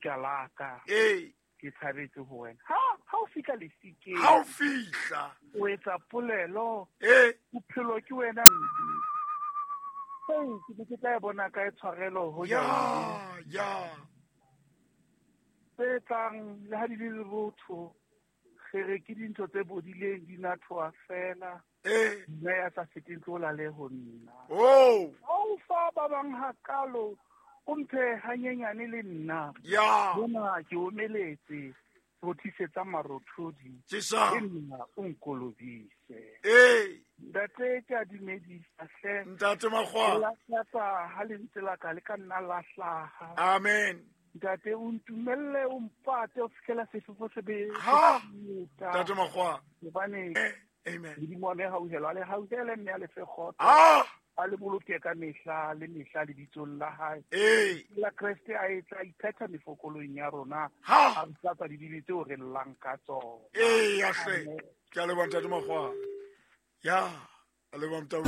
Ka la ka. Ee. Ke tshabetse ho wena. Ha ha o fihla lefikeng. Ha o fihla. O etsa polelo. Ee. Bophelo ke wena. Hey, ke ne ke tla e bona kae tshwarelo ho Ya, ya. Tse tlang le ha di le lerotho. Re re ke dintho tse bodileng di nathoa fela. Ee. Nna ya sa feteng tlo lale ho nna. Oh. Ha o fa ba bang hakalo, o mphe hanyenyane le nna. Ya. Bona ke omeletse, rothisetsa marothodi. Jesa. Le nna o nkolobise. Ee. Ntate ke a dumedisa hle. Ntate Makgwa. Lakatsa ha lentswe la ka le ka nna la hlaha. Amen. Ntate o ntumelle o mpate o fitlhela sefefo se be. Ha. Ntate Makgwa. Hobane Amen. Modimo wa me hauhelo a le hauhele mme a le fe kgotso. Ah! A le boloke ka mehla le mehla lebitsong la hae. Ee. La Kreste a etsa iphetha mefokolong ya rona. Ha! A re tlatsa didibe tseo re llang ka tsona. Ee, ya hle. Ke a leboha Ntate Makgwa. Ya, a leboha Motau.